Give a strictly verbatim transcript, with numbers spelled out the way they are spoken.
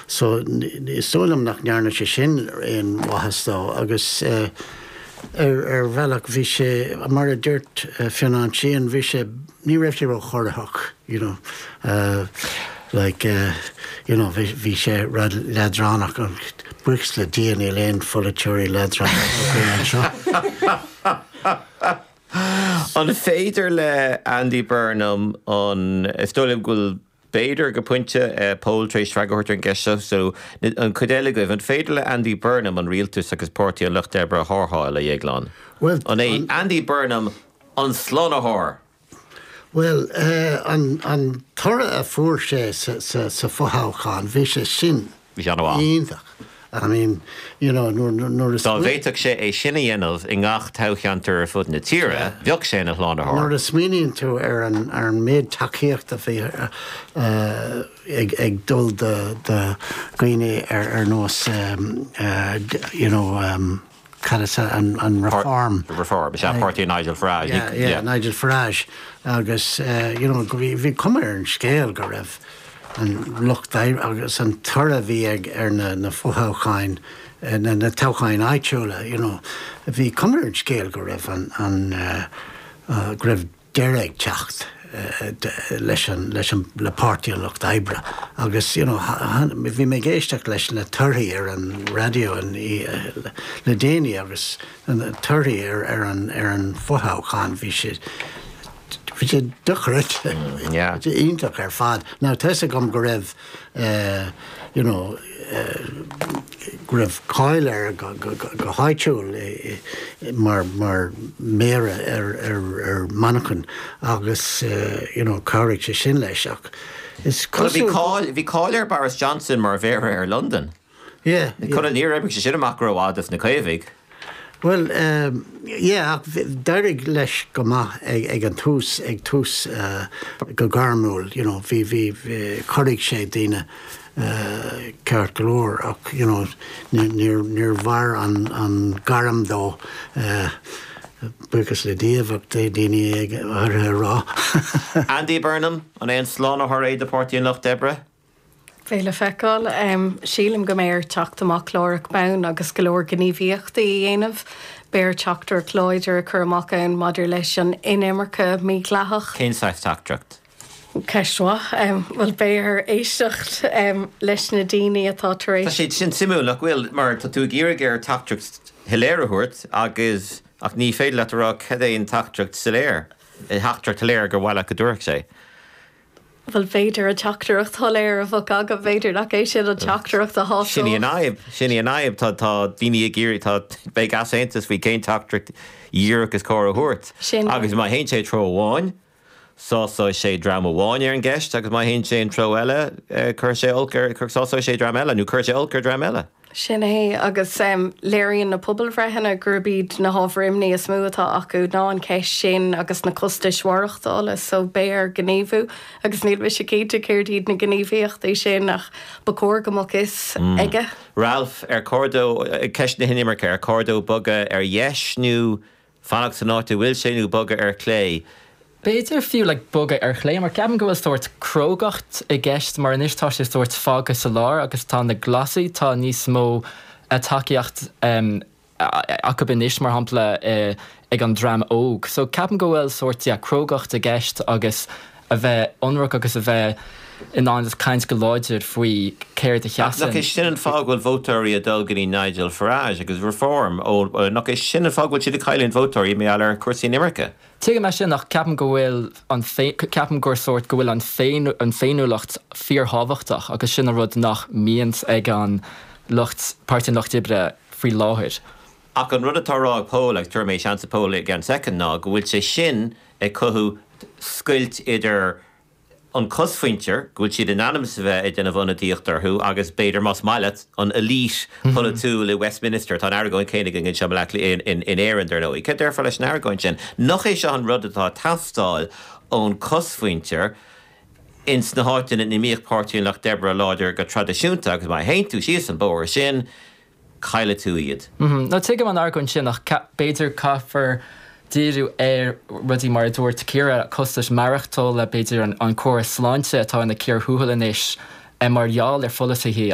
So is dóigh liom nach ndearna sé sin aon mhaitheas dó agus uh, ar ar bhealach bhí sé mar a dúirt uh, Fionnán Sheehan bhí sé ní raibh sé ró-chorraitheach you know uh, like uh, you know bhí bhí sé rud leadránach an buíochas le Dia níl aon pholaiteoirí leadránach seo. An féidir le Andy Burnham an is dóigh go bhfuil b'fhéidir go pointe uh, Paul tar éis freagra an gceist so an chuid eile agaibh an féidir le Andy Burnham an rialtas agus Páirtí an Lucht Oibre a tharrtháil a Dhéagláin. Well, An é Andy Burnham an slánaitheoir. Well uh, an, an toradh a fuair sé sa, sa, sa fothoghchán bhí sé sin Bhí sé an-mhaith. iontach. I mean, you know, nuair nuair Dá bhféadfadh sé é sin a dhéanamh i ngach toghcheantar ar fud na tíre, bheadh sé ina shlánaitheoir. Nuair a smaoiníonn tú ar an ar an méid tacaíocht a bhí uh, ag, ag dul de de dhaoine ar ar nós um, uh, you know, um, cad is an, an reform. Reform, is páirtí Nigel Farage. Yeah, yeah, yeah. Nigel Farage agus uh, you know, bhí bhí cuma ar an scéal go raibh an lucht agus an toradh bhí ag ar na, na fothoghcháin na, na toghcháin áitiúla, you know, bhí cuma ar an scéal go raibh an, an uh, uh, go raibh deireadh ag teacht uh, leis an leis an le Páirtí an Lucht Oibre agus you know, bhí mé ag éisteacht leis na torthaí ar an raidió an uh, le déanaí agus an torthaí ar ar an ar an fothoghchán bhí sé bhí sé dochreidte iontach ar fad. Now tá a fhios agam go raibh uh, you know, uh, go raibh cáil air go, go, go, go háitiúil eh, mar mar méara ar ar ar Manchain agus uh, you know, chabhraigh sé sin leis ach is Bhí cáil bhí cáil ar Boris Johnson mar mhéara ar London. Yeah, Chun yeah. níor oibrigh sé sin amach rómhaith na Caomhaigh. Well um, yeah, d'éirigh leis go maith ag, ag an tús ag tús uh, go gairmiúil, you know, bhí bhí chóirigh sé daoine uh, ceart go leor ach you know, níor níor mhair an, an gairm dó uh, buíochas le Dia daoine ag ar rá. Andy Burnham an é an slánaitheoir é do Pháirtí an Lucht Oibre? Beidh le feiceáil um, sílim go mbeidh air teacht amach láithreach bonn agus go leor gníomhaíochtaí a dhéanamh, Beidh teachtaireacht láidir a chur amach ann maidir leis an inimirce mhídhleathach. Cén saghas teachtaireacht? Ceist mhaith um, well beidh air éisteacht um, leis na daoine atá tar Tá éis. sé sin suimiúil nach bhfuil mar tá tú ag iarraidh air teachtaireacht shoiléir a thabhairt agus ach ní féidir leat a rá cad é an teachtaireacht soiléir. Teachtaireacht shoiléir gur mhaith go dtabharfadh sé. Well b'fhéidir a teachtaireacht shoiléir a bheadh aga b'fhéidir nach é sin an teachtaireacht a há Sin í an fhadhb sin í an fhadhb tá tá daoine ag iarraidh tá beidh easaontas faoi cén teachtaireacht dhíreach is cóir a thabhairt. Sin Agus má théann sé treo amháin, sásóidh sé dream amháin ar an gceist agus má théann sé an treo eile chuir sé olc ar sásóidh sé dream eile, nó chuir sé olc ar dream eile. Sin é agus um, léiríonn na pobalbhreitheanna gurb iad na hábhair imní is mó atá acu ná an cheist sin agus na costais mhaireachtála so beidh air gníomhú agus níl mise cinnte céard iad na gníomhaíochtaí sin ach ba chóir go mbeadh a fhios aige. Ralph ar chóir dó ceist na hinimirce ar chóir dó bogadh ar dheis nó fanacht san áit a bhfuil sé nó bogadh ar chlé. B'fhéidir fiú le bogadh ar chlé, mar ceapaim go bhfuil sórt crógacht i gceist mar anois tá sé sórt fágtha sa lár agus tá na Glasaigh tá níos mó tacaíocht um, acu anois mar shampla uh, ag an dream óg. So ceapaim go bhfuil sórt yeah, crógacht i gceist agus a bheith ionraic agus a bheith in ann caint go láidir faoi céard a Nach sheasann. é sin an fáth go bhfuil vótóirí ag dul go dtí Nigel Farage agus Reform ó nach é sin an fáth go bhfuil siad ag cailliúint vótóirí mar gheall ar chúrsaí inimirce. Tuigim é sin ach ceapaim go bhfuil an ceapaim gur sórt go bhfuil an féin an féiniúlacht fíorthábhachtach agus sin an rud nach mbíonn ag an lucht Páirtí an Lucht Oibre faoi láthair. Ach an rud atá á rá ag Paul agus tabharfaidh mé seans do Paul i gceann soicind ná go bhfuil sé sin ag cothú scoilt idir an cosmhuintir go bhfuil siad in ainm is a bheith ag déanamh ionadaíocht orthu agus b'fhéidir más maith leat an elite polaitiúil i Westminster tá an argóint céanna againn seo in, in, in Éirinn dar ndóigh. Cad déarfá leis an argóint sin. Nach é seo an rud atá teastáil ón cosmhuintir ins na háiteanna ina mbíodh Páirtí an Lucht Oibre láidir go traidisiúnta agus má théann tú síos an bóthar sin caillfidh tú iad. Mm -hmm. Nó tuigim an argóint sin ach b'fhéidir caithfear díriú ar rudaí mar a dúirt Ciara costas maireachtála b'fhéidir an, an córas sláinte atá ina cíor thuathail anois mar gheall ar pholasaithe